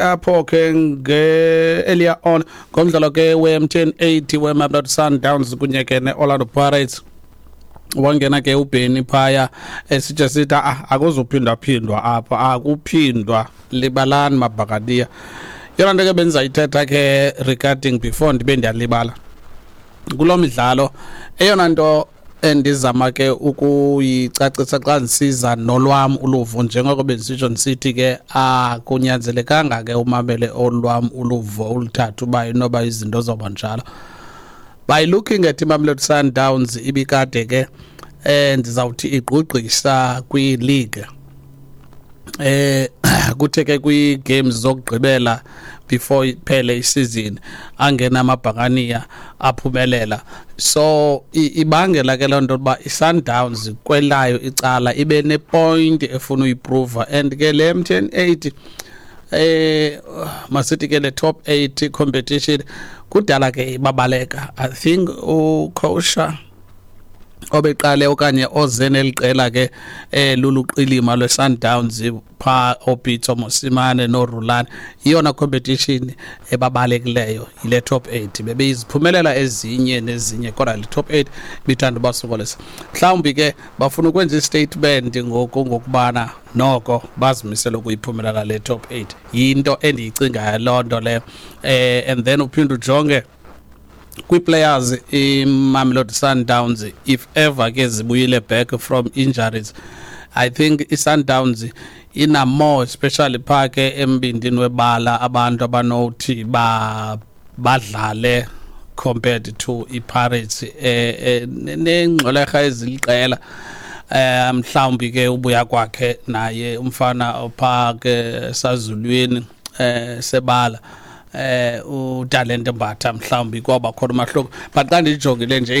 Apho ke nge earlier on ngomdlalo ke we-MTN 8 weMamelodi Sundowns kunye ke ne-Orlando Pirates, wangena ke uBenny phaya esitshe sithi, ah, akuzuphindaphindwa apha, akuphindwa, libalani mabhakadiya. Yona nto ke bendizayithetha ke regarding before ndibe ndiyalibala kulo midlalo, eyona nto endizama ke ukuyicacisa xa ndisiza nolwam uluvo, njengoko bendisitsho ndisithi ke akunyanzelekanga ke umamele olwam uluvo uluthathe uba inoba izinto zoba njalo. By looking at iMamelodi Sundowns, ibikade ke ndizawuthi igqugqisa kwi-league, kuthe ke kwii-games zokugqibela before iphele isizini angena amabhakaniya aphumelela. So ibangela ke loo nto uba i-Sundowns kwelayo icala ibe nepoint efuna uyiprova, and ke le MTN 8, masithi ke le top 8 competition, kudala ke babaleka. I think ucoach obeqale okanye oze neliqela ke luluqilima lweSundowns pha, oPitso Mosimane noRulani, iyona competition ebabalekileyo yile top 8. Bebeyiziphumelela ezinye nezinye, kodwa le top 8 bithanda ubasokolisa. Mhlawumbi ke bafuna ukwenza istatement ngoku ngokubana noko bazimisele ukuyiphumelela le top 8. Yinto endiyicingayo loo nto leyo. And then uphinde ujonge kwii-players, iMamelodi Sundowns, if ever ke zibuyile back from injuries, I think i-Sundowns ina more, especially phaa ke embindini webala, abantu abanothi ba badlale compared to i-Pirates nengxwelerha eziliqela. Mhlawumbi ke ubuya kwakhe naye umfana ophaa ke sazulwini sebala, uTalente Mbatha, mhlawumbi kwaba khona umahluko. But xa ndijongile nje,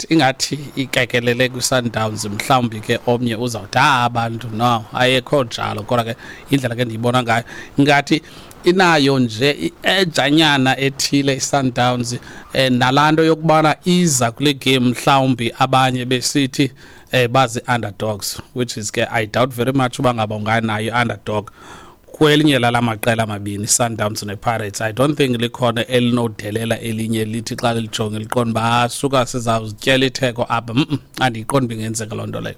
ingathi ikekelele kwi-Sundowns. Mhlawumbi ke omnye uzawuthi, ah, abantu, no, ayekho njalo, kodwa ke indlela ke ndiyibona ngayo, ngathi inayo nje i-edge-anyana ethile i-Sundowns, nalaa nto yokubana iza kule game mhlawumbi abanye besithi bazi-underdogs, which is ke I doubt very much uba ngaba unganayo i-underdog kwelinye lala maqela amabini, Sundowns nePirates. I don't think likhona elinodelela elinye lithi xa lijonge liqonda uba, ah, suka sizawuzityela itheko apha. Andiyiqondi uba ingenzeka loo nto leyo.